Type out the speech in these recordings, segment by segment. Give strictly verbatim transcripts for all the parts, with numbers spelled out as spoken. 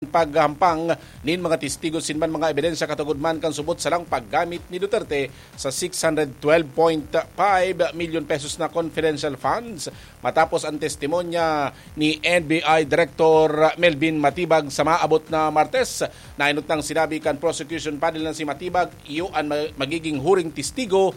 paghampang nin mga testigo sin man mga ebidensya katugod man kan subot sa lang paggamit ni Duterte sa six hundred twelve point five million pesos na confidential funds matapos ang testimonya ni N B I Director Melvin Matibag sa maabot na Martes. Nainot nang sinabi kan prosecution panel na si Matibag iyo an ma- magiging huring testigo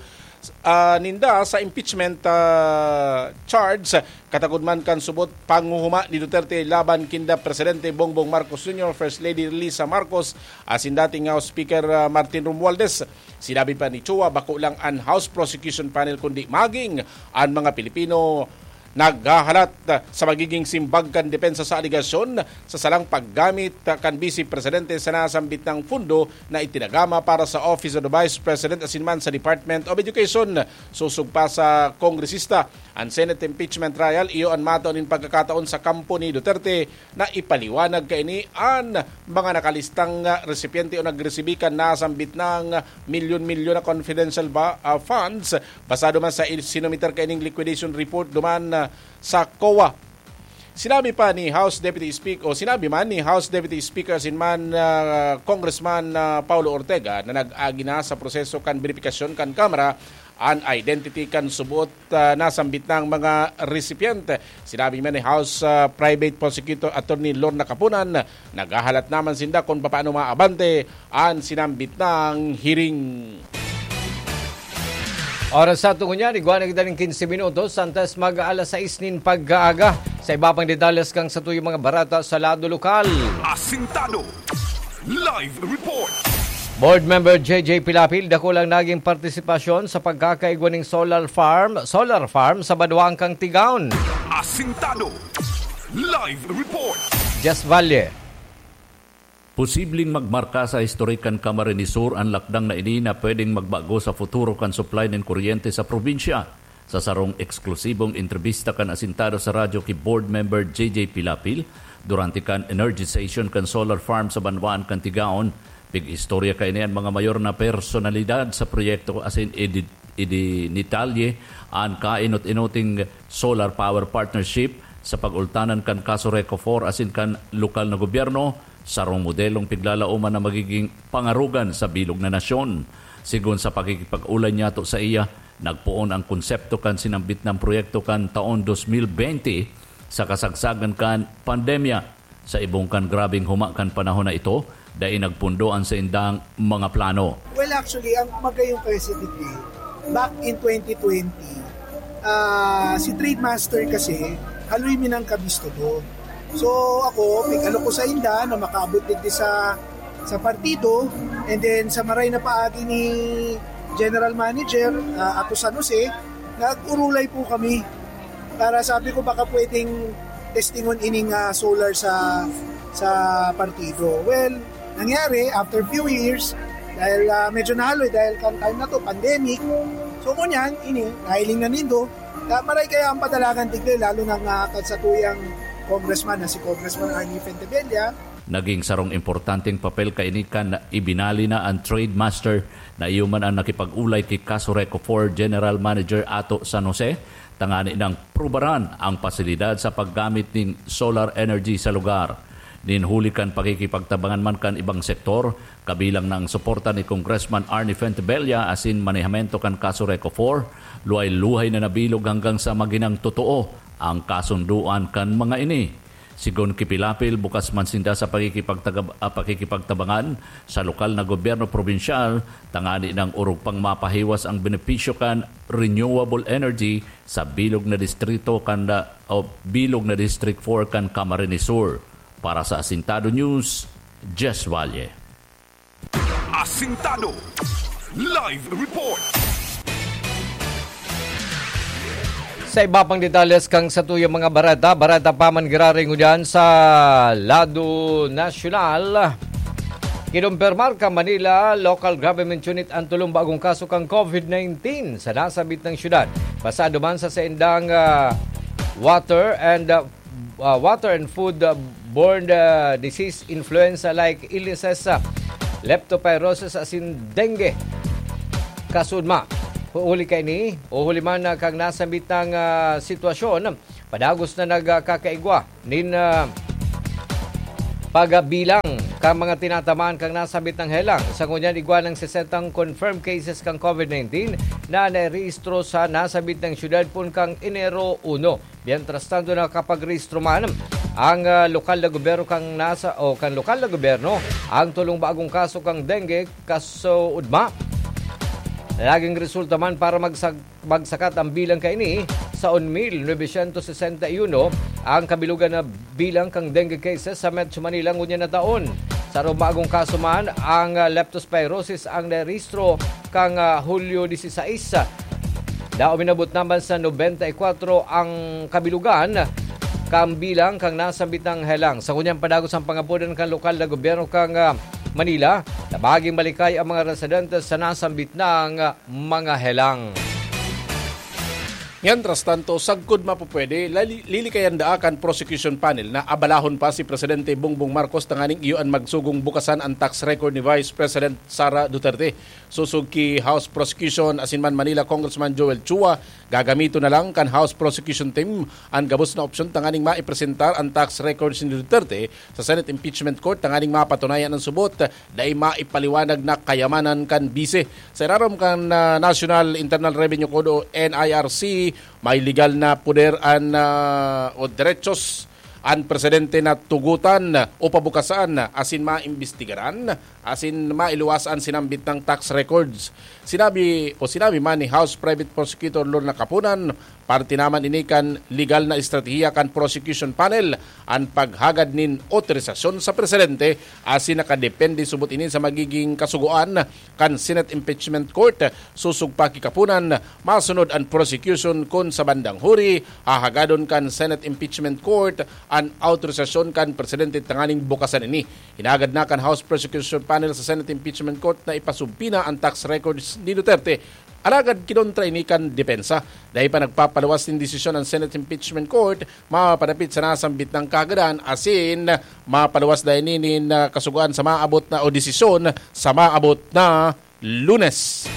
ah, ninda sa impeachment ah, charge katagod man kan subot panguhuma ni Duterte laban kinda Presidente Bongbong Marcos Junior, First Lady Lisa Marcos, asin dating House Speaker ah, Martin Romualdez. Sinabi pa ni Chua, bako lang an House Prosecution Panel kundi maging an mga Pilipino naghahalat sa magiging simbag kan depensa sa alegasyon sa salang paggamit kan Vice Presidente sa nasambit na pundo na itinagama para sa Office of the Vice President asin man sa Department of Education. Sosog pa sa kongresista, an Senate impeachment trial iyo an matao nin pagkakataon sa kampo ni Duterte na ipaliwanag kaini an mga nakalistang ah, resipyente o nagresibi kan nasambit na milyon-milyon na confidential ba, ah, funds basado man sa il- sinumiter kaining liquidation report duman ah, sa COA. Sinabi pa ni House Deputy Speaker o sinabi man ni House Deputy Speaker asin man ah, Congressman ah, Paulo Ortega na nag-agi na sa proseso kan beripikasyon kan Kamara an identity kan subot ah, nasambit na mga recipiente. Sinabi man ni House ah, Private Prosecutor Attorney Lorna Kapunan, naghahalat naman sinda kung paano maabante an sinambit ng hearing. Oras sa tungo niyan, igwa na kita ning quince minutos, antes mag alas sais nin pag-aaga. Sa iba pang detalles kan satuyang mga bareta sa lado lokal. Asintado. Live report. Board Member J J Pilapil, dakulang naging partisipasyon sa pagkakaigwa ning solar farm, solar farm sa Banwaan kan Tigaon. Asintado. Live report. Jess Valle. Posibleng magmarka sa historik kan Camarines Sur an lakdang na ini na pwedeng magbago sa futuro kan supply nin kuryente sa probinsya. Sa sarong eksklusibong entrebista kan Asintado sa Radyo ki Board Member J J Pilapil, durante kan energization kan solar farm sa Banwaan kan Tigaon, pig-istorya kaini an mga mayor na personalidad sa proyekto asin idi- idinitalye an kainot-inoting solar power partnership sa pag-ultanan kan Casureco four asin kan lokal na gobyerno, sarong modelong piglalaoman na magiging pangarogan sa bilog na nasyon. Sigon sa pakikipag-olay niyato saiya, nagpoon ang konsepto kan sinambit na proyekto kan taon dos mil bente sa kasagsagan kan pandemya. Sa ibong kan grabeng huma kan panahon na ito, dai nagpundo an saindang mga plano. Well, actually, ang magayong kasi, back in twenty twenty, ah, si Trademaster kasi, haloy Minangkabis to do. So, ako, pig-alok ko sa inda na makaabot digdi sa, sa partido, and then sa maray na paagi ni General Manager ah, ato San Jose, nag-urulay po kami para sabi ko baka pwedeng testingon ining ah, solar sa sa partido. Well, nangyari after few years, dahil ah, medyo nahaloy dahil kan time na to, pandemic. So ngunyan, ini, nahiling na nindo, na maray kaya ang padalagan digdi, lalo na nga kan satuyang congressman na si Congressman Arnie Fentebella. Naging sarong importanteng papel kaini kan ibinali na an Trademaster na iyo man an nakipag-olay ki Casureco four General Manager Ato San Jose, tangani nang prubaran ang pasilidad sa paggamit nin solar energy sa lugar. Nin huli kan pakikipagtabangan man kan ibang sektor, kabilang na ang suporta ni Congressman Arnie Fentebella asin manehamento kan Casureco four, luhay-luhay na nabilog hanggang sa maginang totoo ang kasundoan kan mga ini. Sigon ki Pilapil, bukas man sinda sa pakikipagtagab-, ah, pakikipagtabangan sa lokal na gobyerno probinsyal, tangani nang orog pang mapahiwas ang benepisyo kan renewable energy sa bilog na distrito kan, o bilog na District four kan Camarines Sur. Para sa Asintado News, Jess Valle. Asintado. Live report. Sa iba pang detalles kan satuyang mga bareta, bareta pa man giraray ngunyan sa lado nasyonal. Kinumpirmar kan Manila Local Government Unit an tolong bagong kaso kan COVID nineteen sa nasabit na syudad. Pasado man sa saindang ah, water and ah, ah, water and food ah, borne ah, disease influenza-like illnesses, ah, leptospirosis asin dengue. Kasudma, huli kaini, o huli man ah, kan nasambit na ah, sitwasyon, padagos na nagkakaigwa nin ah, pagbilang kan mga tinatamaan kan nasambit na helang. Sa ngunyan, igwa nang sesentang confirmed cases kan COVID nineteen na nairehistro sa nasambit na syudad poon kan Enero uno. Mientras tanto, nakapagrehistro man ang, ah, lokal na gobyerno kan nasa-, o kan lokal na gobyerno ang tolong bagong kaso kan dengue kasoudma. Nagin resulta man para magsag-, magsakat ang bilang kaini sa un mil novecientos sesenta y uno, ang kabilugan na bilang kan dengue cases sa Metro Manila ngunyan na taon. Sa bagong kaso man, ang, ah, leptospirosis ang narehistro kan, ah, Hulyo dieciséis. Daw minabot naman sa nobenta y kuwatro ang kabilugan kan bilang kan nasambit na helang. Sa ngunyan, padagos ang pangapodan kan lokal na gobyerno kan, ah, Manila na magin malikay ang mga residente sa nasambit na, ah, mga helang. Mientras tanto, sagkod mapupwede, lali-, lilikayan daa kan prosecution panel na abalahon pa si Presidente Bongbong Marcos tanganing iyo an magsugong bukasan an tax record ni Vice President Sara Duterte. Sosog ki House Prosecution asin man Manila Congressman Joel Chua, gagamiton na lang kan House Prosecution Team an gabos na opsyon tanganing maipresentar an tax records ni Duterte sa Senate Impeachment Court tanganing mapatunayan an subot, dai maipaliwanag na kayamanan kan bise. Sa irarom kan, ah, National Internal Revenue Code o N I R C, may legal na poder an, ah, o derechos an presidente na tugotan o pabukasan asin maimbestigaran asin mailuwas an sinambit na tax records. Sinabi o sinabi man ni House Private Prosecutor Lorna Kapunan, parte naman ini kan legal na estratehiya kan prosecution panel an paghagad nin otorisasyon sa presidente, asin nakadepende subot ini sa magiging kasugoan kan Senate Impeachment Court. Sosog pa ki Kapunan, masunod an prosecution kun sa bandang huri hahagadon kan Senate Impeachment Court an autorisasyon kan presidente tanganing bukasan ini. Hinagad na kan House Prosecution Panel sa Senate Impeachment Court na ipasubpina an tax records ni Duterte. Alagad kinontra ini kan depensa. Dai pa nagpapaluwas nin desisyon an Senate Impeachment Court mapadapit sa nasambit na kahagadan, asin mapaluwas dai ini nin, ah, kasugoan sa maabot na o desisyon sa maabot na Lunes.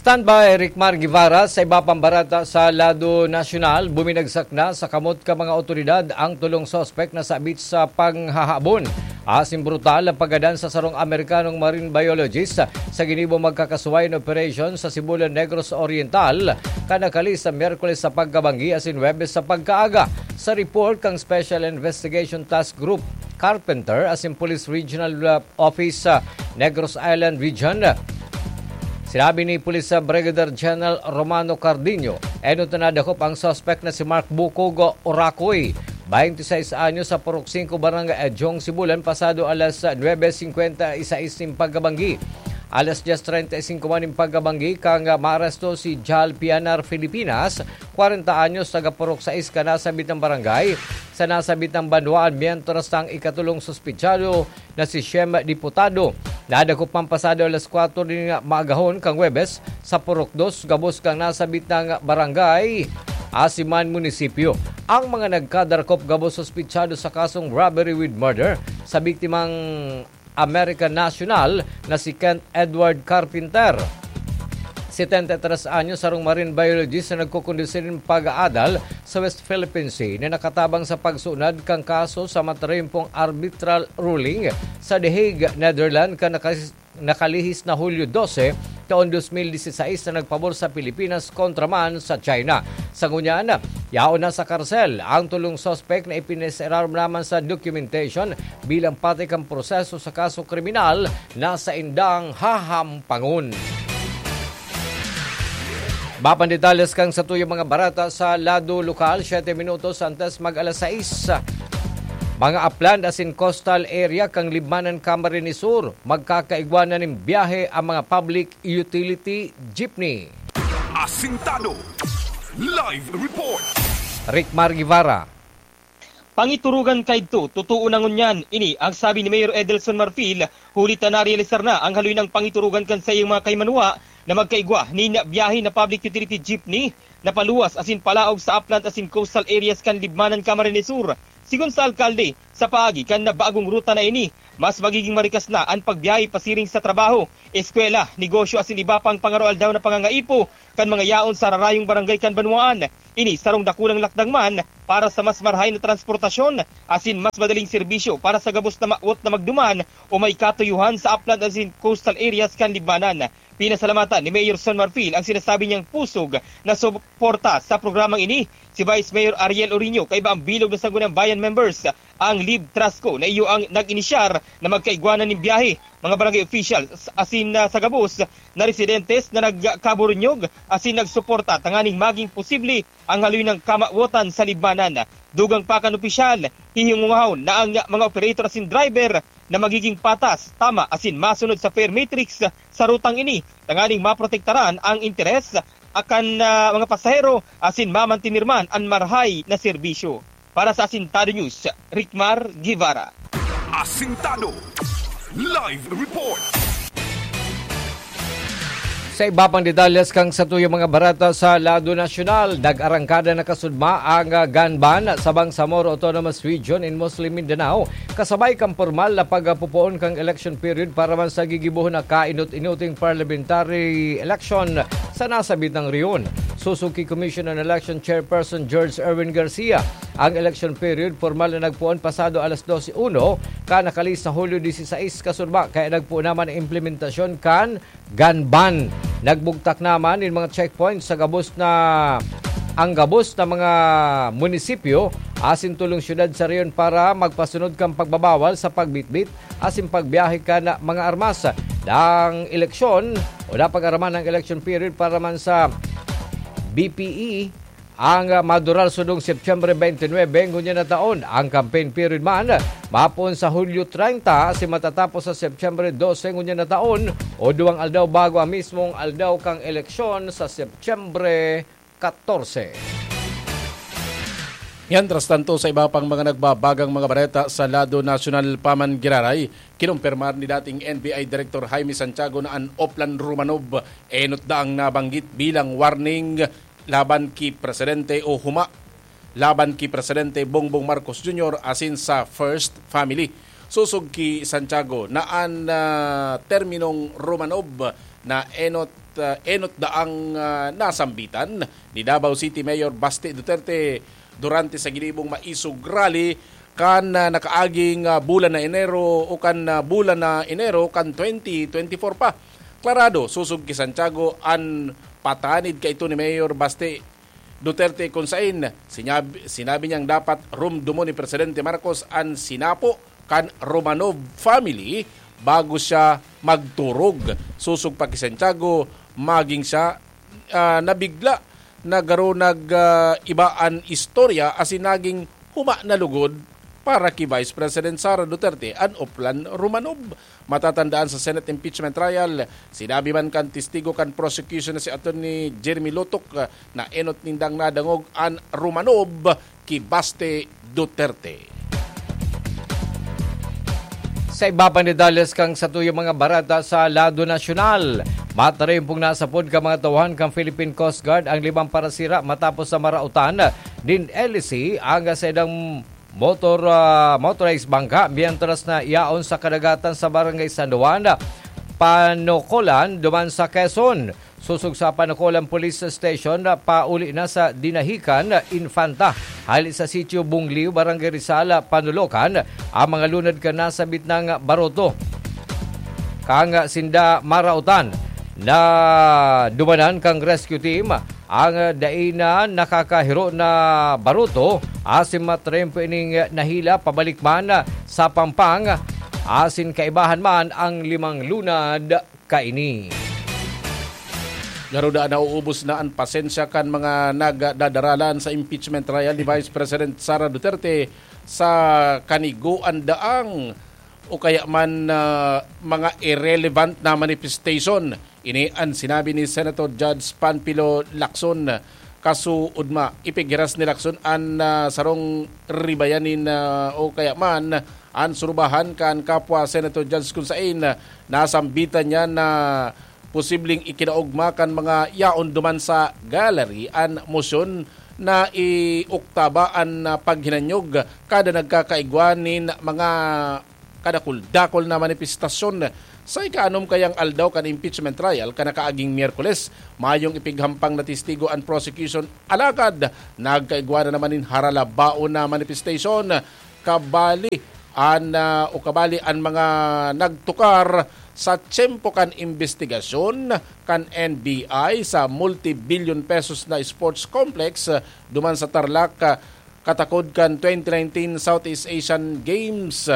Standby, Ricmar Guevara. Sa iba pang barata sa lado nasyonal, buminagsak na sa kamot kan mga otoridad ang tolong suspek na sabit sa panghahabon asin brutal na paggadan sa sarong Amerikanong marine biologist sa ginibong magkakasuwayan operation sa Sibulan, Negros Oriental, kan nakalis sa Miyerkules sa pagkabanggi asin Huwebes sa pagkaaga. Sa report kan Special Investigation Task Group, Carpenter asin Police Regional, uh, Office, uh, Negros Island Region, sinabi ni Police, uh, Brigadier General Romano Cardinho, enot na nadakop ang suspek na si Mark Bukog Oracoy, baynte seis anyos, sa Purok singko, Barangay Adyong, Sibulan, pasado alas nuebe singkwenta y seis nin pagkabanggi. Alas dyes treinta y cinco man nin pagkabanggi kan, uh, maaresto si Jal Pianar Filipinas, kwarenta anyos, taga Purok sais kan nasambit na barangay, sa nasambit na banwaan, mientras ang ikatolong suspitsado na si Shem Diputado, nadakop man pasado alas kwatro nin maagahon kan Huwebes sa Purok dos, gabos kan nasambit na barangay asin man munisipyo. Ang mga nagkadarakop gabos suspitsado sa kasong robbery with murder sa biktimang American national na si Kent Edward Carpenter, setenta y tres anyos, sarong marine biologist na nagkukondusir nin pag-aadal sa West Philippine Sea, na nakatabang sa pagsunad kan kaso sa matarimpong arbitral ruling sa The Hague, Netherlands, kan nakas-, nakalihis na Hulyo dose, taon dos mil dieciséis, na nagpabor sa Pilipinas kontra man sa China. Sa ngunyan, yaon na sa karsel ang tolong suspek na ipinasailarom naman sa documentation bilang pati kan proseso sa kaso kriminal na saindang hahampangon. Mapan detalles kan satuyang mga barata sa lado lokal, siyete minutos antes mag alas sais. Mga upland asin coastal area kan Libmanan, Camarines Sur, magkakaigwa na nin biyahe ang mga public utility jeepney. Asintado. Live report. Ricmar Guevara. Pangiturugan kaidto, totoo na ngunyan. Ini ang sabi ni Mayor Edelson Marfil, huli ta narealisar na ang haloy nang pangiturugan kan saiyang mga kaimanuwa na magkaigwa nin biyahe na public utility jeepney na paluwas asin palaog sa upland asin coastal areas kan Libmanan, Camarines Sur. Sigon sa alkalde, sa paagi kan nabagong ruta na ini, mas magiging marikas na an pagbiyahe pasiring sa trabaho, eskwela, negosyo asin iba pang pangaroaldaw na pangangaipo kan mga yaon sa rarayong barangay kan banwaan. Ini sarong dakulang lakdang man para sa mas marahay na transportasyon asin mas madaling serbisyo para sa gabos na mawot na magduman o may katuyuhan sa upland asin coastal areas kan Libmanan. Pinasalamatan ni Mayor Son Marfil ang sinasabi niyang pusog na suporta sa programang ini. Si Vice Mayor Ariel Orino, kaiba ang bilog na Sangguniang Bayan members, ang Live Trasco, na iyo ang nag-inisyar na magkaigwanan nin biyahe. Mga barangay officials asin, ah, sa gabos na residentes na nagkaburunyog asin nagsuporta tanganing maging posible ang haloy ng kamawotan sa Libmanan. Dugang pa kan opisyal, hihingungahon na ang mga operator asin driver na magiging patas, tama asin masunod sa fare matrix sa rutang ini, tanganing maprotektaran ang interes akan, ah, mga pasahero asin mamantinir man an marahay na serbisyo. Para sa Asintado News, Rickmar Guevara. Asintado Live Report. Sa iba pang detalles kan satuyang mga bareta sa lado nasyonal, nag-arangkada na kasudma ang, ah, gun ban sa Bangsamoro Autonomous Region in Muslim Mindanao, kasabay kan pormal na pagpupoon kan election period para man sa gigibohon na kainot-inoting parliamentary election sa nasabitang rehiyon. Sosog ki Commission on Election Chairperson George Erwin Garcia, ang election period pormal na nagpoon pasado alas dose uno, kan nakalihis na Hulyo dieciséis kasudma, kaya nagpoon naman ang implementasyon kan gun ban. Nagbugtak naman nin mga checkpoints sa gabos na, ang gabos na mga munisipyo asin tolong syudad sa rehiyon para magpasunod kan pagbabawal sa pagbitbit asin pagbiyahe kan mga armas. Ang eleksyon o napag-araman ang election period para man sa B P E ang, ah, madurar sundong Setyembre twenty-nine ngunyan na taon. Ang campaign period man, mapoon sa Hulyo treinta asin matatapos sa Setyembre dose ngunyan na taon, o duwang aldaw bago ang mismong aldaw kan eleksyon sa Setyembre katorse. Mientras tanto, sa iba pang mga nagbabagang mga bareta sa lado nasyonal pa man giraray, kinumpirmar ni dating N B I Director Jaime Santiago na an Oplan Romanov enot daang nabanggit bilang warning laban ki Presidente o huma laban ki Presidente Bongbong Marcos Junior asin sa First Family. Sosog ki Santiago na an, ah, terminong Romanov na enot, ah, enot daang, ah, nasambitan ni Davao City Mayor Baste Duterte durante sa ginibong maisog rally kan, ah, nakaaging, ah, bulan na Enero o kan, ah, bulan na Enero kan twenty twenty-four pa. Klarado, sosog ki Santiago an patanid kaito ni Mayor Baste Duterte, kun sain sinyab-, sinabi niyang dapat rumdomon ni Presidente Marcos an sinapo kan Romanov family bago siya magturog. Sosog pa ki Santiago, magin siya, ah, nabigla na garo nag, ah, iba an istorya asin nagin huma na lugod para ki Vice President Sara Duterte an Oplan Romanov. Matatandaan sa Senate impeachment trial, sinabi man kan testigo kan prosecution na si Attorney Jeremy Lotok, ah, na enot nindang nadangog an Romanov ki Baste Duterte. Sa iba pang detalles kan satuyang mga bareta sa lado nasyonal, matarimpong nasapod kan mga tauhan kan Philippine Coast Guard ang limang parasira matapos na maraotan nin L C ang saindang motor, ah, motorized bangka, mientras na yaon sa kadagatan sa Barangay San Juan, Panocolan, duman sa Quezon. Sosog sa Panocolan Police Station, pauli na sa Dinahican, Infanta. Hali sa Sitio Bungliw, Barangay Rizal, Panulocan, ang mga lunad kan nasabit nang baruto. Kan sinda maraotan, nadumanan kan rescue team ang dai na nakakahiro na baruto, asin matrempo ining nahila pabalik man sa Pampang, asin kaibahan man ang limang lunad kaini. Garuda, nauubos na an pasensya kan mga nagdadaralan sa impeachment trial ni Vice President Sara Duterte sa kanigoan daang o kaya man, ah, mga irrelevant na manifestation. Ini an sinabi ni Senator Judge Panfilo Lacson. Kasuodma, ipighiras ni Lacson an, ah, sarong ribayan nin, ah, o kaya man an surubahan kan kapwa Senator Judge kun sain nasambitan niya na posibleng ikinaogma kan mga yaon duman sa gallery an mosyon na ioktaba an, ah, paghinanyog kada nagkakaigwa nin mga kadakul-dakol na manifestasyon sa ikaanom kayang aldaw kan impeachment trial kan nakaaging Miyerkules. Mayong ipighampang na testigo an prosecution, alagad nagkaigwa na naman nin haralabaon na manifestation. Kabali an, ah, o kabali an mga nagtukar sa tiyempo kan imbestigasyon kan N B I sa multi-billion pesos na sports complex, ah, duman sa Tarlac, ah, katakod kan twenty nineteen Southeast Asian Games.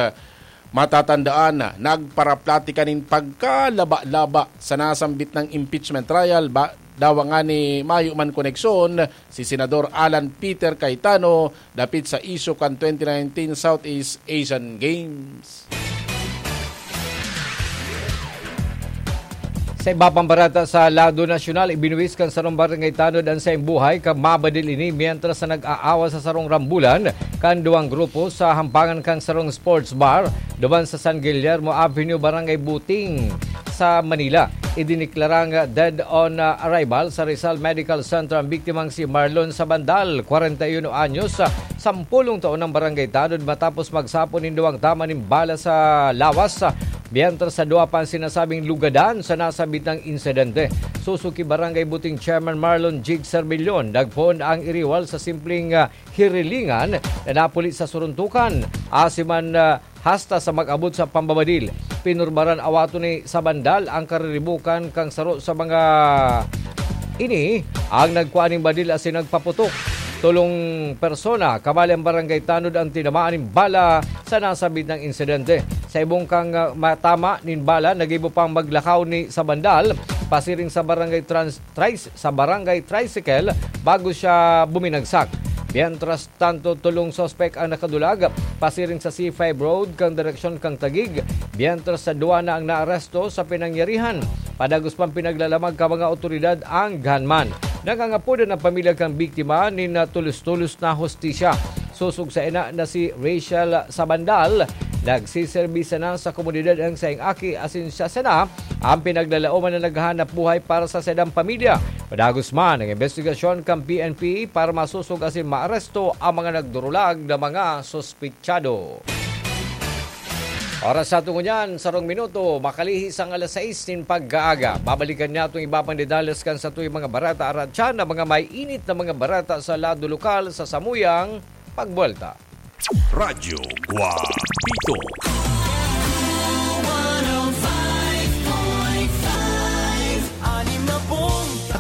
Matatandaan, nagparaplatika nin pagkalaba-laba sa nasambit na impeachment trial ba, dawa ngani mayo man koneksyon si Senador Alan Peter Cayetano dapit sa isyu kan twenty nineteen Southeast Asian Games. Sa iba pang barata sa lado nasyonal, ibinuwis kan sarong barangay tanod an saiyang buhay kan mabadil ini mientras na nag-aawa sa sarong rambulan kan duwang grupo sa hampangan kan sarong sports bar duman sa San Guillermo Avenue, Barangay Buting, sa Manila. Idiniklarang dead on, ah, arrival sa Rizal Medical Center ang biktimang si Marlon Sabandal, kwarenta y uno anyos, ah, sampolong taon ng barangay tanod matapos magsapon nin duwang tama nin bala sa lawas, ah, mientras sa duwa pa ang sinasabing lugadan sa nasabit na insidente. Sosog ki Barangay Buting Chairman Marlon Jig Sermillon, nagpoon ang iriwal sa simpleng, ah, hirilingan na napuli sa suruntukan. Asin man, ah, hasta sa mag-abot sa pambabadil. Pinurbaran awaton ni Sabandal ang kariribukan kan saro sa mga ini ang nagkua nin badil asin nagpaputok. Tolong persona, kabali ang barangay tanod, ang tinamaan nin bala sa nasabit na insidente. Sa ibong kang, ah, matama nin bala, nagibo pang maglakaw ni Sabandal pasiring sa barangay trans-, tris-, sa barangay tricycle bago siya buminagsak. Mientras tanto, tolong suspek ang nakadulag pasiring sa C five Road kan direksyon kan Taguig, mientras sa duwa na ang naaresto sa pinangyarihan. Padagos pang pinaglalamag kan mga otoridad ang gunman. Nangangapodan ang pamilya kan biktima nin tulos-tulos na hustisya. Sosog sa ina na si Rachel Sabandal, nagsiserbi sana sa komunidad ang saiyang aki asin siya sana ang pinaglalaoman na naghahanap buhay para sa saindang pamilya. Padagos man ang imbestigasyon kan P N P para masosog asin maaresto ang mga nagdurulag na mga suspitsyado. Oras sa tungo niyan, sarong minuto, makalihis ang alas sais nin pag-aaga. Babalikan niya itong iba pang detalles kan satuyang mga barata aratyan na mga may init na mga barata sa lado lokal sa samuyang pagbuwelta. Radyo Guapito.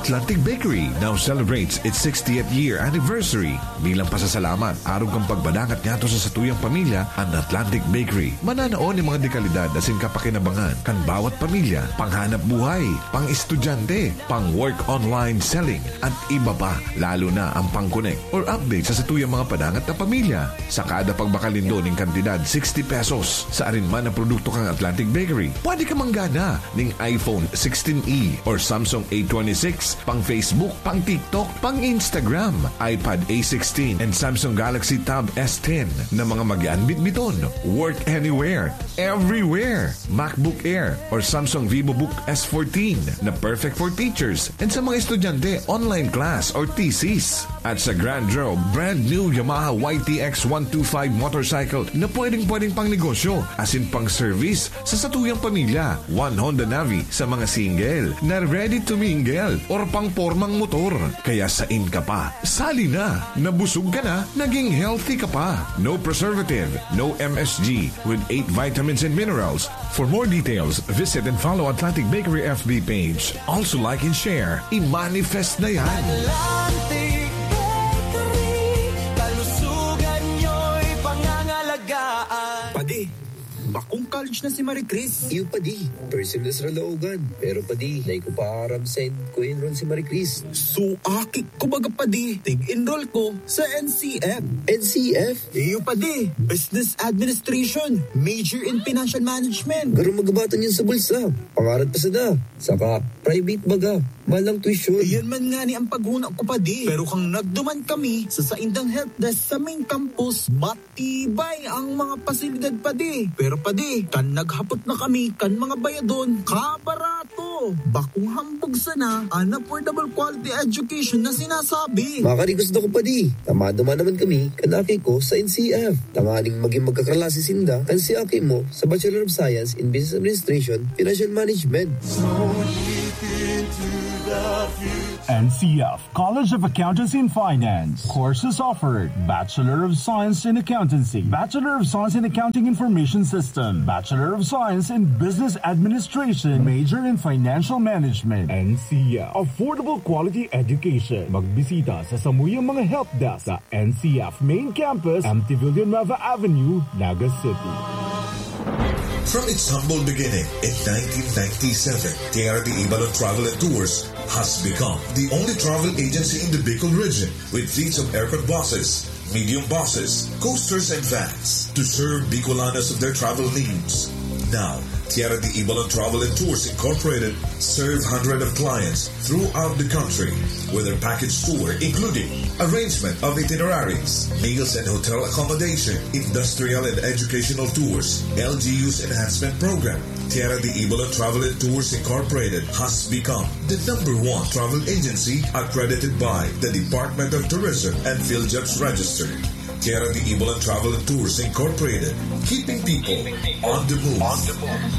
Atlantic Bakery now celebrates its sixtieth year anniversary. Bilang pasasalamat, arog kan pagpadangat niyato sa satuyang pamilya, an Atlantic Bakery mananao nin mga dekalidad asin kapakinabangan kan bawat pamilya, panghanap buhay, pang-estudyante, pang-work online selling, at iba pa, lalo na ang pang-connect or update sa satuyang mga padangat na pamilya. Sa kada pagbakal nindo nin kantidad sixty pesos sa arin man na produkto kan Atlantic Bakery, pwede ka manggana nin iPhone sixteen E or Samsung A twenty-six, pang Facebook, pang TikTok, pang Instagram, iPad A sixteen, and Samsung Galaxy Tab S ten na mga magian bitbiton. Work anywhere, everywhere. MacBook Air or Samsung VivoBook S fourteen na perfect for teachers and sa mga estudyante, online class or thesis. At sa Grand Draw, brand new Yamaha Y T X one two five motorcycle na pwedeng-pwedeng pang negosyo, asin pang service sa satuyang pamilya. One Honda Navi sa mga single na ready to mingle or pang pormang motor. Kaya sain ka pa? Sali na! Nabusog ka na, naging healthy ka pa. No preservative, no M S G, with eight vitamins and minerals. For more details, visit and follow Atlantic Bakery F B page. Also like and share. I-manifest na yan! Atlantic Bakery, kalusugan nyo'y pangangalagaan. Padi, bakong college na si Marie Chris. Iyo, padi. First year na sa Caloocan. Pero, padi, dai ko pa aram saen ko enroll si Marie Chris. So, aki ko baga, padi. Tig-enroll ko sa N C F. N C F? Iyo, padi. Business Administration. Major in Financial Management. Pero magabatan yun sa bulsa. Pangarap pa sana. Saka, private baga. Mahal ang tuition. Iyan man ngani ang paghuna ko, padi. Pero kan nagduman kami sa saindang help desk sa main campus, matibay ang mga pasilidad, padi. Pero, padi, kan naghapot na kami kan mga bayadon, kabarato. Oh, bakong hambog sana an affordable quality education na sinasabi. Makari gusto ko pa di. Tamado man naman kami, kan aki ko sa N C F. Tanganing maging magkaklase sinda, kan si aki mo sa Bachelor of Science in Business Administration, Financial Management. N C F College of Accountancy and Finance. Courses offered: Bachelor of Science in Accountancy, Bachelor of Science in Accounting Information System, Bachelor of Science in Business Administration, major in Financial Management. N C F. Affordable quality education. Magbisita sa samuyang mga help desk sa N C F Main Campus, M T Villanueva Avenue, Naga City. From its humble beginning in nineteen ninety-seven, Tierra de Ibalon Travel and Tours has become the only travel agency in the Bicol region with fleets of aircon buses, medium buses, coasters, and vans to serve Bicolanos of their travel needs. Now, Tierra de Ibalon Travel and Tours Incorporated serve hundreds of clients throughout the country with their package tour, including arrangement of itineraries, meals and hotel accommodation, industrial and educational tours, L G U's enhancement program. Tierra de Ibalon Travel and Tours Incorporated has become the number one travel agency accredited by the Department of Tourism and PhilJobs Register. Tierra de Ibalon Travel and Tours Incorporated, keeping people on the move.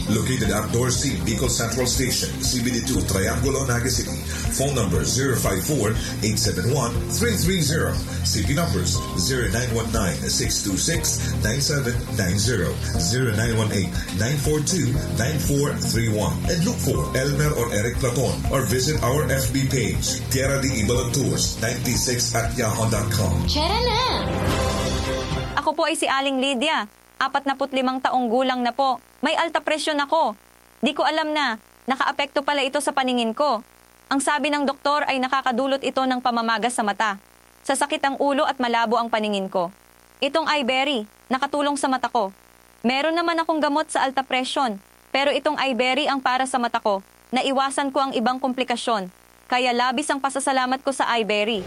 Located at Dorsey, Bicol Central Station, C B D two, Triangulo, Naga City. Phone number zero five four, eight seven one, three three zero. C P numbers zero nine one nine, six two six, nine seven nine zero, zero nine one eight, nine four two, nine four three one. And look for Elmer or Eric Platon or visit our F B page, Tierra de Ibalon Tours, ninety-six at yahoo dot com. Tara na! Ako po ay si Aling Lydia. Apat na put limang taong gulang na po. May alta presyon ako. Di ko alam na nakaapekto pala ito sa paningin ko. Ang sabi ng doktor ay nakakadulot ito ng pamamaga sa mata, sasakit ang ulo at malabo ang paningin ko. Itong Iberry, nakatulong sa mata ko. Meron naman akong gamot sa alta presyon, pero itong Iberry ang para sa mata ko. Naiwasan ko ang ibang komplikasyon, kaya labis ang pasasalamat ko sa Iberry.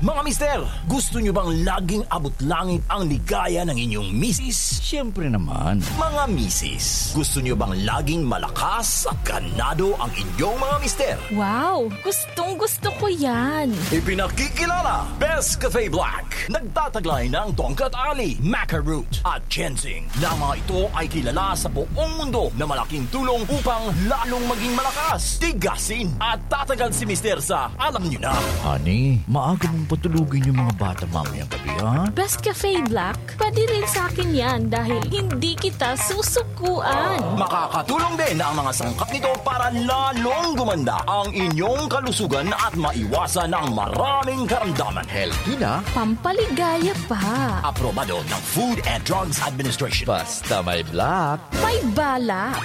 Mga mister, gusto nyo bang laging abot langit ang ligaya ng inyong misis? Siyempre naman. Mga misis, gusto nyo bang laging malakas at ganado ang inyong mga mister? Wow! Gustong gusto ko yan! Ipinakikilala, Best Cafe Black. Nagtataglay ng tongkat ali, maca root, at ginseng, na mga ito ay kilala sa buong mundo na malaking tulong upang lalong maging malakas, tigasin, at tatagal si mister sa alam nyo na. Honey, maaga mong patulugin yung mga bata mamayang gabi, ha? Best Cafe Black, pwede rin sa akin yan dahil hindi kita susukuan. Makakatulong din ang mga sangkap nito para lalong gumanda ang inyong kalusugan at maiwasan ang maraming karamdaman. Healthy na. Pampaligaya pa. Aprobado ng Food and Drugs Administration. Basta may black. May balak.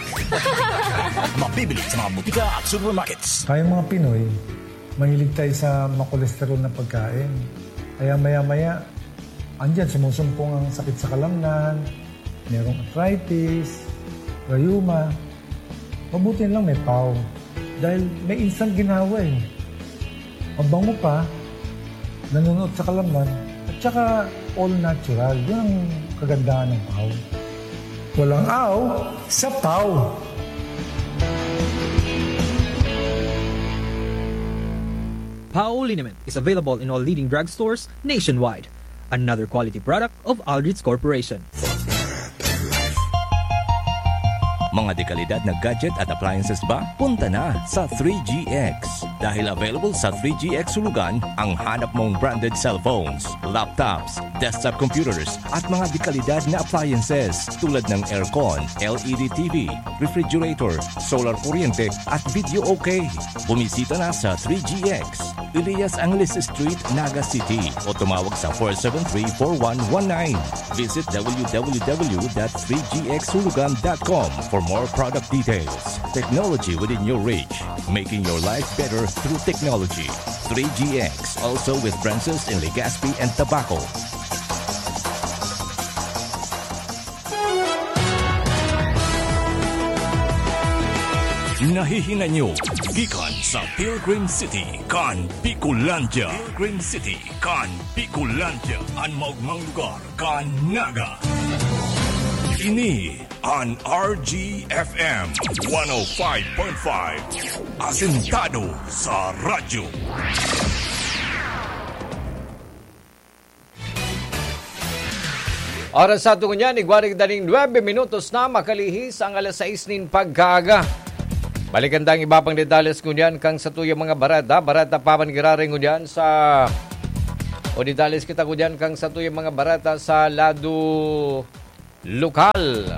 Mabibili sa mga butika at supermarkets. Tayong mga Pinoy, mahilig tayo sa makolesterol na pagkain. Kaya maya-maya, andyan, sumusumpong ang sakit sa kalamnan, merong arthritis, rayuma. Mabuti lang may pau. Dahil may instant ginawa eh. Mabango pa, nanunuot sa kalamnan, at saka all natural. Yun ang kagandahan ng pau. Walang aw sa pau. Pau liniment is available in all leading drugstores nationwide. Another quality product of Aldrich Corporation. Mga dekalidad na gadget at appliances ba? Punta na sa three G X. Dahil available sa three G X Hulugan ang hanap mong branded cellphones, laptops, desktop computers, at mga dekalidad na appliances tulad ng aircon, L E D T V, refrigerator, solar kuryente, at video okay. Bumisita na sa three G X, Elias Angeles Street, Naga City, o tumawag sa four seven three, four one one nine. Visit w w w dot three g x hulugan dot com for more product details. Technology within your reach, making your life better through technology. Three G X, also with branches in Legazpi and Tabaco. Nahihinan nyo gikan sa Pilgrim City kan Bicolandia. Pilgrim City kan Bicolandia, an maogmang lugar kan Naga. Ini an R G F M one oh five point five, asentado sa radyo. Oras sa aton ngunyan, igwa nin daning nuebe minutos na makalihis ang alas sais nin pagkaaga. Balikan tang iba pang detalles ngunyan kan satuyang mga bareta. Bareta pa man giraray ngunyan sa, o detalles kita ngunyan kan satuyang mga bareta sa lado lokal.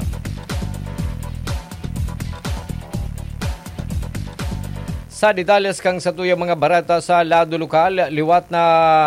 Sa detalles kan satuyang mga bareta sa lado lokal, liwat na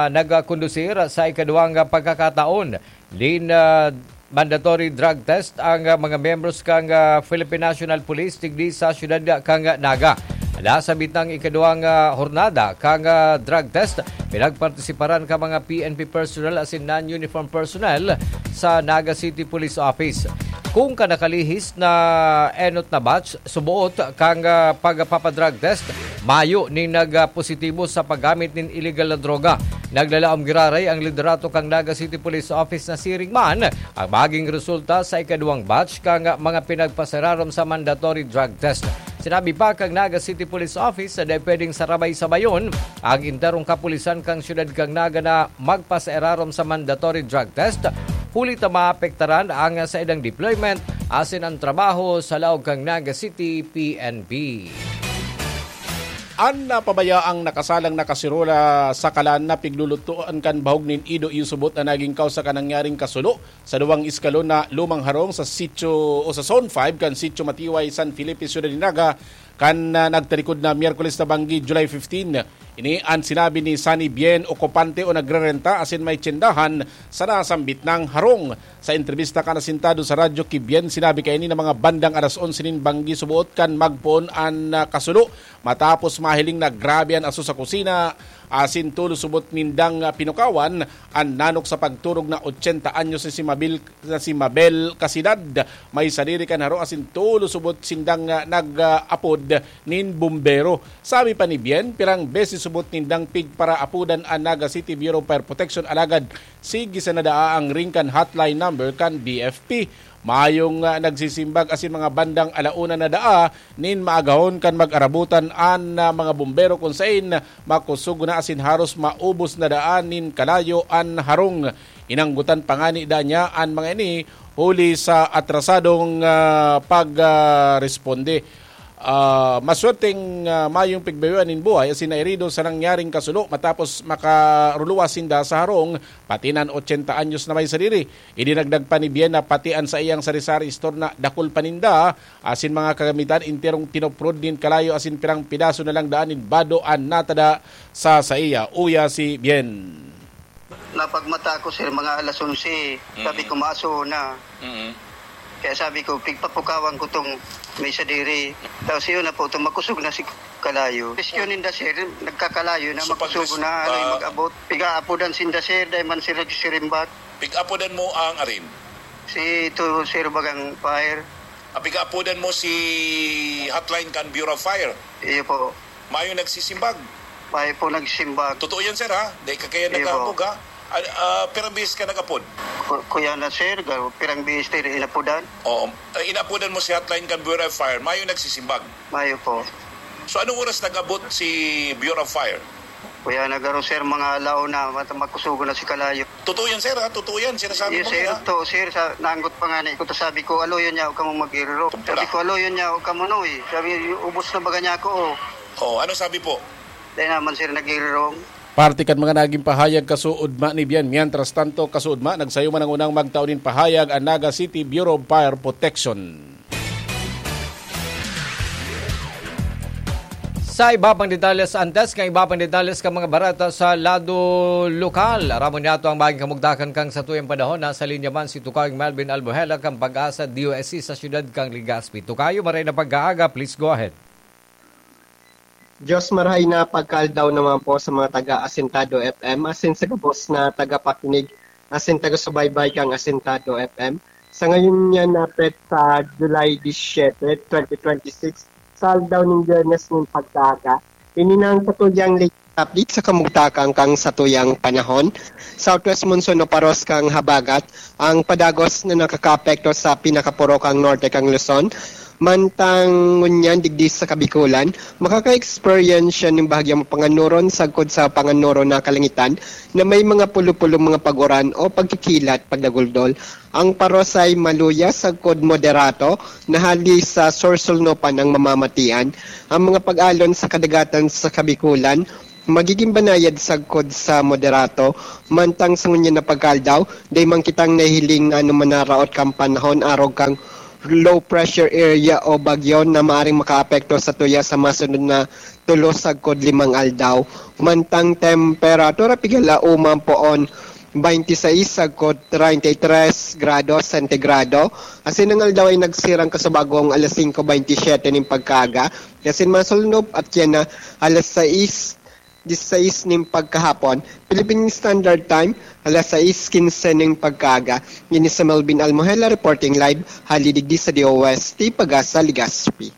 nagkondusir sa ikaduwang pagkakataon nin, ah, mandatory drug test ang, ah, mga miyembros kan, ah, Philippine National Police digdi sa siyudad kan Naga. Nasambit na an ikaduwang, ah, hornada kan, ah, drug test. Pinagpartisiparan kan mga P N P personnel asin non-uniform personnel sa Naga City Police Office. Kun kan nakalihis na enot na batch, suboot kan, ah, pagpapadrug test, mayo nin nagpositibo sa paggamit nin iligal na droga. Naglalaom giraray ang liderato kan Naga City Police Office na siring man ang maging resulta sa ikaduwang batch kan mga pinagpasararom sa mandatory drug test. Sinabi pa kan Naga City Police Office na dai pwedeng sarabay-sabayon ang enterong kapulisan kan siyudad kan Naga na magpasairarom sa mandatory drug test, huli ta maapektaran ang saindang deployment asin ang trabaho sa laog kan Naga City P N P. An napabayaang nakasalang na kaserola sa kalan na piglulutoan kan bahog nin ido iyo subot na naging kawsa kan nangyaring kasulo sa duwang eskalon na lumang harong sa sitio o sa Zone five kan Sitio Matiway, San Felipe, Ciudad de Naga, kan, ah, nagtarikod na Miyerkules na banggi, July fifteen. Ini an sinabi ni Sunny Bien, okupante o nagrerenta asin may tyendahan sa nasambit nang harong. Sa entrebista kan asentado sa radyo ki Bien, sinabi kaini na mga bandang alas onse nin banggi suboot kan magpoon an, ah, kasulo, matapos mahiling na grabe an aso sa kusina, asin tolos subot nindang, ah, pinukawan an nanok sa pagturog na ochenta anyos na si Mabel, na si Mabel Casidad. May sadiri kan harong asin tolos subot sindang, ah, nag-apod nin bumbero. Sabi pa ni Bien, pirang beses subot nindang pigparaapodan an Naga City Bureau of Fire Protection, alagad sige sana daa ang ring kan hotline number kan B F P. Mayong, ah, nagsisimbag asin mga bandang ala una na daa nin maagahon kan mag-arabutan an, ah, mga bumbero kun sain makosog na asin haros maubos na daan nin kalayo an harong. Inanggotan pa ngani daa niya an mga ini huli sa atrasadong, ah, pag, ah, responde. Ah, maswerteng, ah, mayong pigbayoan nin buhay asin nairido sa nangyaring kasulo matapos makaruluwas sinda sa harong, pati na an ochenta anyos na may sadiri. Idinagdag pa ni Bien na pati an saiyang sari-sari store na dakul paninda asin mga kagamitan enterong tinoprod nin kalayo asin pirang pidaso na lang daan nin bado an natada sa saiya. Uya si Bien. Napagmata ako, sir, mga alas onse. Sabi Mm. ko, "Maaso na." Mm. Kaya sabi ko, "Pigpapukawan ko tong may sadiri." Tapos yun na po, itong makusog na si kalayo. Rescue ninda, sir, nagkakalayo na, So, pag makusog res-, na, ano yung ah, mag-abot. Pigaapodan sinda, sir, dahil man sila nagsisirimbat. Pig-apodan mo ang arin? Si ito, sir, bagang fire. Ah, pigaapodan mo si hotline kan Bureau of Fire? Iyo po. Mayo nagsisimbag? Mayo po nagsimbag. Totoo yan, sir, ha? Dahil kakayan Iyo po. nag-aapog, ha? Ah, ah, pirang bihis ka nag-apod? Ku-, kuya na, sir, ga-, pirang bihis tayo inapodan. Oo. Eh, inapodan mo si hotline kan Bureau of Fire. Mayo nagsisimbag? Mayo po. So, anong oras nag-abot si Bureau of Fire? Kuya na garo, sir, mga alaw na, mat-, makusugo na si Kalayo. Totoo yan, sir, ha? Totoo yan. Sinasabi Yes, mo sir, yan, ha? to, sir, sa, naanggot pa nga na iko, to sabi ko, "Alo yun niya, huwag ka mong mag-iriro." Kumpara. Sabi ko, "Alo yun niya, huwag ka mo, noy." Sabi, "Ubos na baga niya ako, oh." Oh, ano sabi po? Dahil naman, sir, nag-iriro. Parte kan mga naging pahayag kasuodma ni Bian. Mientras tanto, kasuodma, nagsayo man ang unang magtao nin pahayag ang Naga City Bureau of Fire Protection. Sa iba pang detalles, antes kan iba pang detalles kan mga bareta sa lado lokal, aramon niyato ang maging kamugtakan kan satuyang panahon. Nasa linya man si Tukang Melvin Albuhela kan Pag-asa D O S C sa siyudad kan Legazpi. Tukayo, maray na pagkaaga, please go ahead. Diyos marahay na pagkaaldaw naman po sa mga taga Asintado F M asin sa gabos na tagapakinig asin taga-subaybay kan Asintado F M. Sa ngayon niya na petsa, July diecisiete, twenty twenty-six, sa aldaw nin Biyernes nin pagkaaga, ini na ang satuyang latest Update sa kamugtakan kan satuyang panahon. Southwest monsoon o paros kan habagat ang padagos na nakakaapekto sa pinakapurokang norte kan Luzon. Mantang ngunyan digdi sa Kabikulan, makaka-experience siya nin bahagyang mapanganuron sagkod sa panganuron na kalangitan na may mga pulo-pulong mga pag-uran o pagkikilat pagdaguldol. Ang paros ay maluya sagkod moderato na hali sa sursulnupan ang mamamatian. Ang mga pag-alon sa kadagatan sa Kabikulan, magiging banayad sagkod sa moderato. Mantang sa ngunyan na pagkaaldaw, dai man kitang nahihiling na anuman na raot kan panahon arog kan low pressure area o bagyo na maaring makaapekto sa tuya sa masunod na tulo sagkod limang aldaw. Mantang temperatura, pigala uman poon twenty-six sagkod treinta y tres grado sentigrado. Asin ang aldaw ay nagsirang kasubagong alas singko bentisiete nin pagkaaga. Asin masulnop at yan na alas sais, disisais nin pagkahapon, Philippine Standard Time, alas sais quince nin pagkaaga. Ini si Melvin Almohela reporting live, hali digdi sa D O S T Pagasa, Legazpi.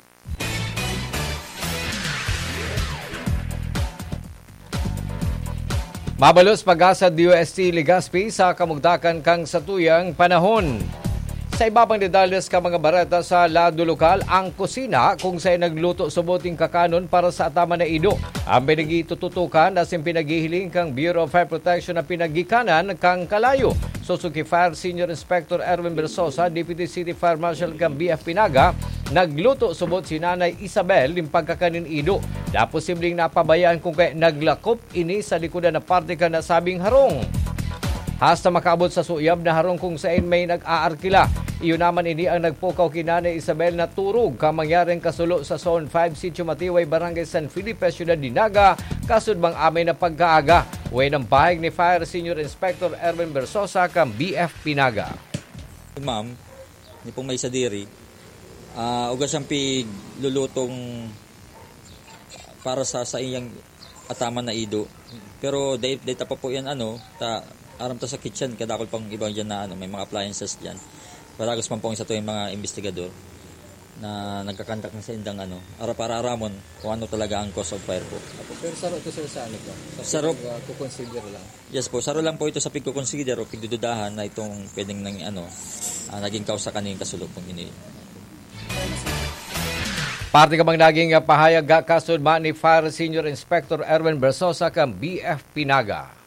Mabalos pag-asa D O S T Legazpi sa kamugtakan kan satuyang panahon. Sa iba pang detalles kan mga bareta sa lado lokal, ang kusina kung saan nagluto subot nin kakanon para sa ataman na ido, ang pinagitututukan asin pinaghihiling kan Bureau of Fire Protection na pinagikanan kan kalayo. Suzuki Fire Senior Inspector Erwin Bersosa, Deputy City Fire Marshal kan B F P Naga, nagluto subot si Nanay Isabel nin pagkakanin ido na posibleng napabayaan kung kaya naglakop ini sa likodan na parte kan nasabing harong. Hasta makaabot sa suyab na harong kung saen may nag-aarkila. Iyo naman ini ang nagpukaw ki Nanay Isabel na turog kan mangyaring kasulo sa Zone five, Sitio Matiway, Barangay San Felipe, Syudad nin Naga, kasudbang amay na pagkaaga. Wayan ang pahayag ni Fire Senior Inspector Erwin Bersosa kan B F P Naga. Ma'am, ni pong may sadiri, ah, ugas siyang piglulutong para sa, sa iyang ataman na ido. Pero dai, dai ta pa po yan, ano, ta, aram ta sa kitchen, kadakol pang iba dyan na, ano, may mga appliances dyan. Padagos man po ang sa tuwing mga investigador na nagkakandak na sa indang, ano, arap-araramon kung ano talaga ang cause of fire po. Apo, pero saro ito, sir, sa ano po? Sa Saro. Pag, ah, kukonsider lang. Yes po, saro lang po ito sa pigkukonsider o pigdududahan na itong pwedeng nang, ano, ah, naging kausa kaning kasulupong ini. Parte ka bang naging, ah, pahayag, ah, kasudma ni Fire Senior Inspector Erwin Bersosa kan B F P Naga?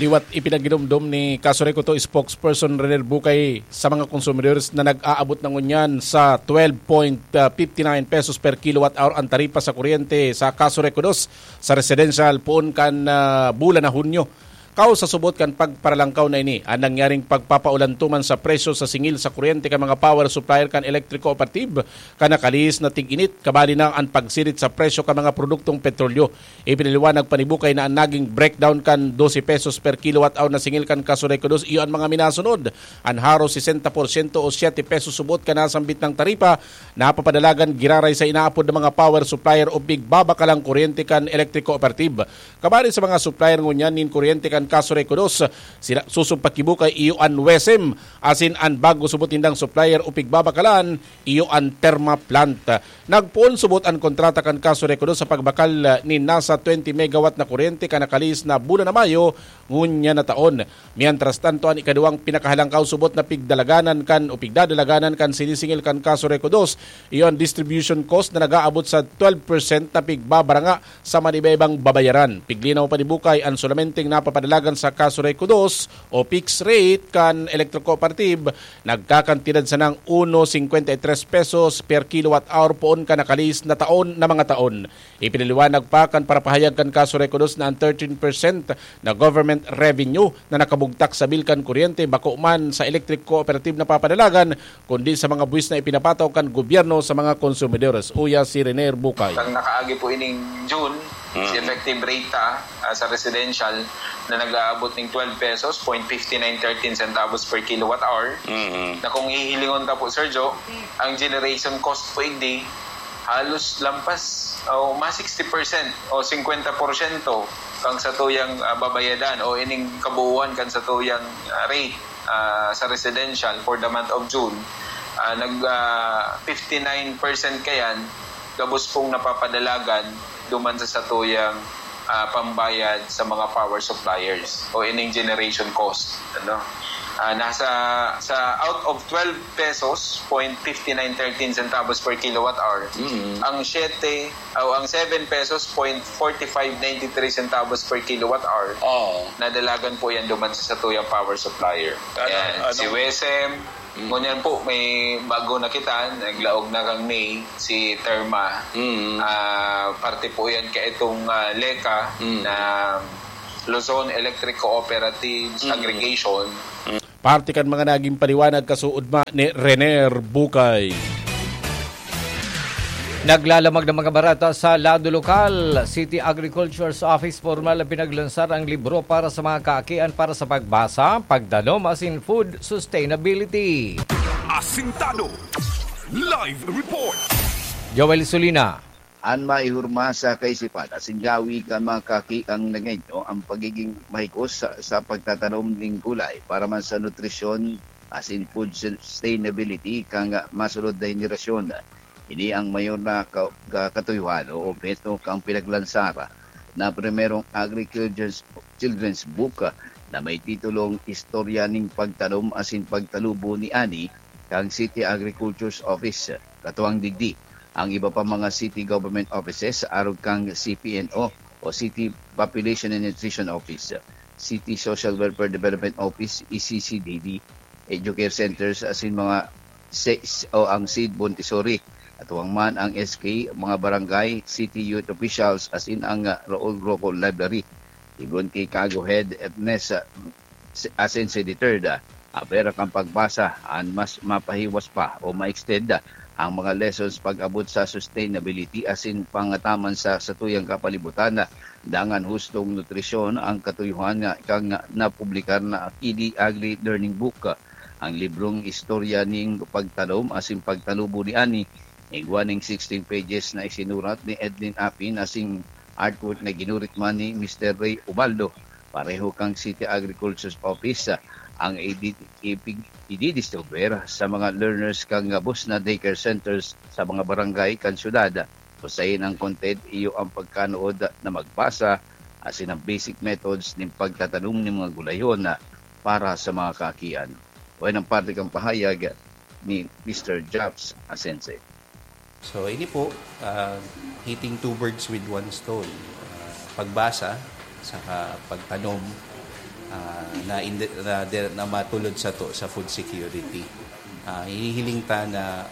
Liwat ipinagginomdom ni Kaso Reko two spokesperson Renier Bucay sa mga consumers na nag-aabot na ngunyan sa twelve point fifty nine pesos per kilowatt hour ang taripa sa kuryente sa Kaso Reko two sa residential poon kan, ah, bulan na Hunyo. Kao sa subot kan pagparalangkaw na ini, an nangyaring pagpapaulantuman sa presyo sa singil sa kuryente kan mga power supplier kan electric cooperative kan nakalihis na tig-init, kabali na an pagsirit sa presyo kan mga produktong petrolyo. Ipinaliwanag pa ni Bucay na an naging breakdown kan dose pesos per kilowatt hour na singil kan Kaso Reko two iyo an mga minasunod: an haros sesenta porsyento o siyete pesos subot kan nasambit na taripa napapadalagan giraray sa inaapod na mga power supplier o pigbabakalang kuryente kan electric cooperative. Kabali sa mga supplier ngunyan nin kuryente kan Kaso Reko two, sila susog pa ki Bucay iyo an WESM, asin an bago subot nindang supplier o pigbabakalan iyo an Terma plant. Nagpoon subot an kontrata kan Kaso Reko two sa pagbakal nin nasa twenty megawatt na kuryente kan nakalihis na bulan na Mayo ngunyan na taon. Mientras tanto, an ikaduwang pinakahalangkaw subot na pigdalaganan kan o pigdadalaganan kan sinisingil kan Kaso Reko two, iyo an distribution cost na nag-aabot sa twelve percent na pigbabaranga sa manibaybang babayaran. Piglinaw pa ni Bucay, an sulamenteng napapadalagan sa Kaso Reko two o fixed rate kan electric cooperative nagkakantidad sanang uno cincuenta y tres pesos per kilowatt hour poon kan nakalihis na taon na mga taon. Ipinaliwanag pa kan parapahayag kan Kaso Reko two na an thirteen percent na government revenue na nakabugtak sa bill kan kuryente bako man sa electric cooperative napapadalagan, kundi sa mga buwis na ipinapataw kan gobyerno sa mga konsumidores. Uya si Renier Bucay. Ang nakaagi po ining June, Mm. si effective rate ta, ah, sa residential na nag-aabot ning twelve pesos, point fifty nine thirteen centavos per kilowatt hour. Mm. Na kung hihilingon ta po, Sir Joe, ang generation cost po igdi, halos lampas o mas sixty percent o singkwenta porsyento kang satuyang, ah, babayadan o ining kabuuan kan satuyang, ah, rate, ah, sa residential for the month of June. Ah, nag, ah, fifty nine percent kayan, gabos pong napapadalagan duman sa satuyang, ah, pambayad sa mga power suppliers o ining generation cost, ano. Ah, nasa, sa out of twelve pesos, point fifty nine thirteen centavos per kilowatt hour, Mm. ang siyete, o ang seven pesos, point forty five nine three centavos per kilowatt hour, Oo. nadalagan po yan duman sa satuyang power supplier. Ano, Yan, ano? si WESM, Mm. ngunyan po, may bago na kita, naglaog na kang May, si Terma. Mm. Ah, parte po yan ka itong, ah, LECA Mm. na Luzon Electric Cooperatives Mm. Aggregation. Parte kan mga naging paliwanag kasuodma ni Rener Bukay. Naglalamag ng mga barata sa lado lokal. City Agriculture's Office formal na pinaglansar ang libro para sa mga kaakian para sa pagbasa, pagtanom asin food sustainability. Asintado. Live report. Joel Sulina. An maihurma sa kaisipan asin gawi kan mga kaki ang Nagueño ang pagiging mahigos sa, sa pagtatanom ning gulay para man sa nutrisyon asin food sustainability kan masunod na henerasyon. Ini ang mayor na ka-, ka-, katuyohan o obheto kan pinaglansar na primerong Agri-Children's, Children's Book na may titulong Istorya ning Pagtanom asin Pagtalubo ni Ani kan City Agriculture's Office. Katuwang digdi, ang iba pa mga city government offices arog kan C P N O o City Population and Nutrition Office, City Social Welfare Development Office, E C C D D, Educare Centers asin mga SES o ang seed Montessori. Katuwang man ang S K, mga barangay, city youth officials asin ang, ah, Raul Roco Library. Sigon ki Kago Head Ernest, ah, si-, Asensi the third, ah, apera kan pagbasa, an mas mapahiwas pa o ma-extend, ah, ang mga lessons pag-abot sa sustainability asin pangataman sa satuyang kapalibutan, ah, dangan hustong nutrisyon ang katuyohan nga kan napublikar na Kidi Agri Learning Book. Ang librong istorya ning pagtanom asin pagtalubo ni Ani, igwa ning sixteen pages na isinurat ni Edlin Apin asin artwork na ginurit man ni Mister Ray Ubaldo, pareho kan City Agriculture's Office, ang idi-, ipig-, ididiscover sa mga learners kan gabos na daycare centers sa mga barangay kan syudad. Usain ang content, iyo ang pagkanuod na magbasa asin ang basic methods nin pagtatanom nin mga gulayon para sa mga kaakian. Wayan ang parte kan pahayag ni Mister Jobs Asense. So, ini po, ah, hitting two birds with one stone. Ah, pagbasa, saka pagtanom, ah, na indi-, na de-, na matulod sato sa food security. Ah, hinihiling ta na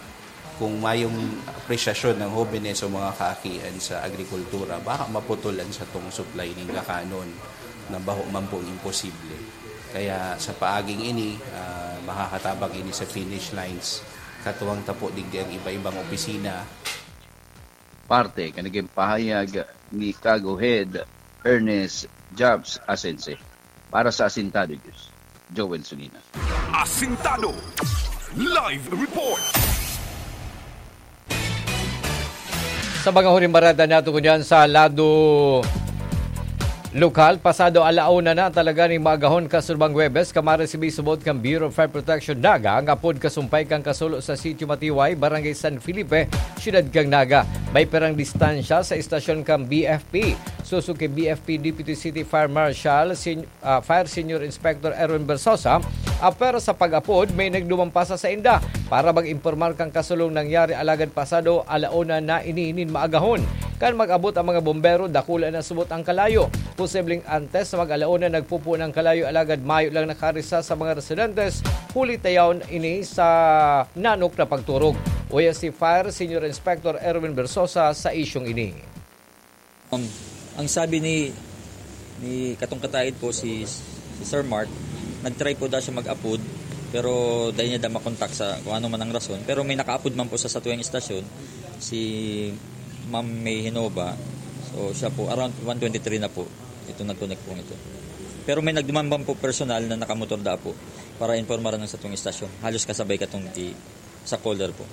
kung mayong apresyasyon ng hobenes o mga kaakian sa agrikultura, baka maputol an satong supply nin kakanon na baho man pong imposible. Kaya sa paaging ini, ah, makakatabang ini sa finish lines, katuwang ta po digdi ang iba-ibang opisina. Parte kan naging pahayag ni Kago Head Ernest Jobs Asense. Para sa Asintado News, Joel Sulina. Asintado Live Report. Sa mga huring barada nato ngunyan sa lado lokal, pasado ala una na talaga ning maagahon kasurubang Huwebes, kan maresibi subot kan Bureau of Fire Protection Naga ang apod kasumpay kan kasulo sa Sitio Matiway, Barangay San Felipe, Siyudad kan Naga. May pirang distansya sa istasyon kan B F P. Susuki B F P Deputy City Fire Marshal, Sen-, ah, Fire Senior Inspector Erwin Bersosa, apwera sa pag-apod, may nagduman pa sa sainda para mag-impormar kan kasulong nangyari alagad pasado ala una na ini nin maagahon. Kan mag-abot ang mga bombero, dakula na subot ang kalayo. Posibleng antes na mag-ala una, nagpupuon ang kalayo alagad mayo lang nakarisa sa mga residentes, huli ta yaon ini sa nanok na pagturog. Uya si Fire Senior Inspector Erwin Bersosa sa isyong ini. Um, ang sabi ni, ni katong kataid po si, si Sir Mark, nag-try po daw siya mag-apod, pero dai niya daw makontak sa kung ano man ang rason. Pero may nakaapod man po sa satuyang istasyon, si Ma'am May Hinoba. So, siya po, around one twenty-three na po, ito nag-connect po ito. Pero may nagduman man po personal na nakamotor da po para informaran ang satong istasyon. Halos kasabay katong ki-, sa caller po.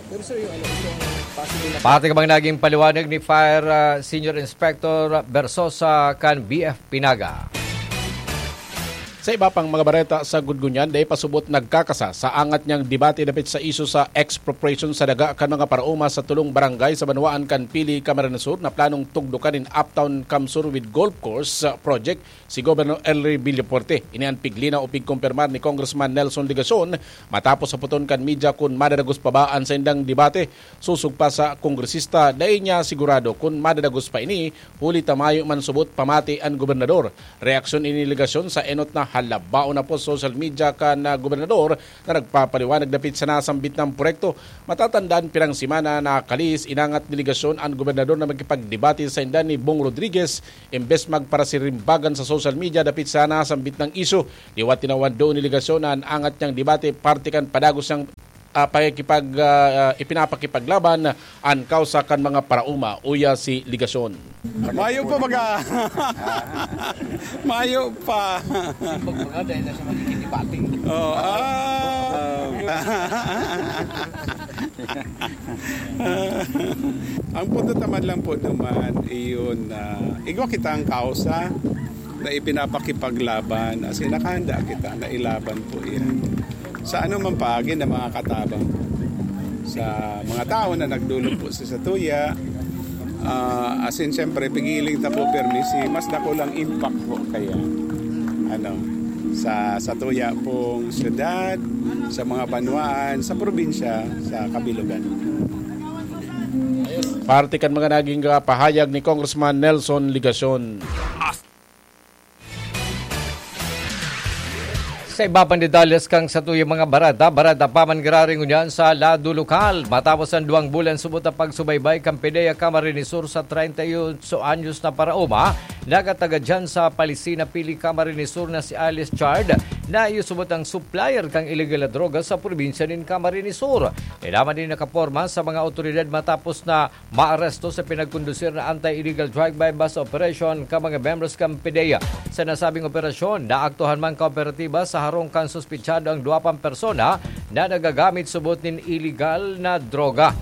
Pero sir, yung ano, itong possible na Pati ka bang naging paliwanag ni Fire, ah, Senior Inspector Bersosa kan B F P Naga? Sa iba pang mga bareta sa Gudgunyan, dai pa subot nagkakasa sa angat niyang debate dapit sa isyu sa expropriation sa daga kan mga paraoma sa tulong barangay sa banwaan kan Pili, Camarines Sur, na planong tugdokan nin Uptown Camsur with Golf Course Project si Governor Elry Villafuerte. Ini an piglinaw o pigkumpirmar ni Congressman Nelson Legacion matapos saputon kan media kun madadagos pa ba an saindang debate. Sosog pa sa kongresista, dai niya sigurado kun madadagos pa ini, huli ta mayo man subot pamati an gobernador. Reaksyon ini ni Legacion sa enot na halabaon na post sa social media kan, ah, gobernador na nagpapaliwanag dapit sa nasambit na proyekto. Matatandaan, pirang semana nakalihis, inangat ni Legacion an gobernador na makipagdebate sainda ni Bong Rodriguez, imbes magparasirimbagan sa social media dapit sa nasambit na isyu. Liwat tinawan doon ni Legacion na an angat niyang debate parte kan padagos niyang, ah, pakikipag-, ah, ipinapakipaglaban an kausa kan mga paraoma, uya si Legacion. Mayo pa baga. Mayo pa. Sipag baga dahil na siya magiging debate. Oh, ah. Ang punto naman lang po naman, iyon na igwa kitang kausa na ipinapakipaglaban, as in, nakahanda kita na ilaban po yan. Sa anumang paagi na mga katabang po, sa mga tao na nagdulog po sa satuya, ah, as in, siyempre, pigiling ta po permi si mas dakulang impact po kaya, ano, sa satuya pong syudad, sa mga banwaan, sa probinsya, sa kabilugan. Parte kan mga naging, ah, pahayag ni Congressman Nelson Legacion. Sa iba pang detalles kan satuyang mga bareta, bareta pa man giraray ngunyan sa lado lokal. Matapos an duwang bulan subot na pagsubaybay kan PDEA Camarines Sur sa treinta y ocho anyos na paraoma, nagatagad diyan sa Palisina, Pili, Camarines Sur na si alias Chard, na iyo subot ang supplier kan illegal na droga sa probinsya nin Camarines Sur. Ilaman din nakaporma sa mga awtoridad matapos na maaresto sa pinagkondusir na anti-illegal drive-by bust operation kan mga membros kan PDEA. Sa nasabing operasyon, naaktuhan man kooperatiba sa harong kan suspetsado ang duwa pang persona na nagagamit subot nin illegal na droga.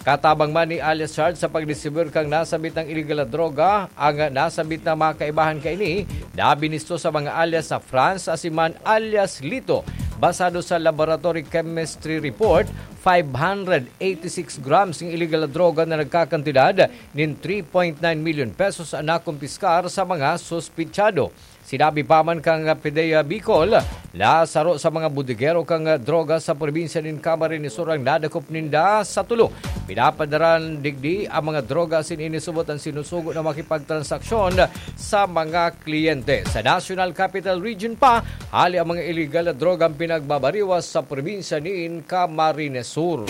Katabang man ni alias Chard sa pagdistribuyar kan nasambit na illegal na droga, ang nasambit na mga kaibahan kaini na binisto sa mga alias na Franz asin man alias Lito. Basado sa laboratory chemistry report, five hundred eighty-six grams ng illegal na droga na nagkakantidad nin three point nine milyon pesos an nakumpiskar sa mga suspetsado. Sinabi pa man kan PDEA Bicol na saro sa mga bodegero kan droga sa probinsya nin Camarines Sur ang nadakop ninda sa tulo. Pinapadaran digdi ang mga droga asin inisubot ang sinusugo na makipagtransaksyon sa mga kliyente. Sa National Capital Region pa, hali ang mga illegal na drogang pinagbabariwas sa probinsya nin Camarines Sur.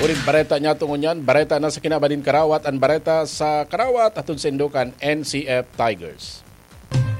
Uring bareta niya tungon yan, bareta na sa kinaban nin Karawat, an bareta sa Karawat, hatod sa indokan N C F Tigers.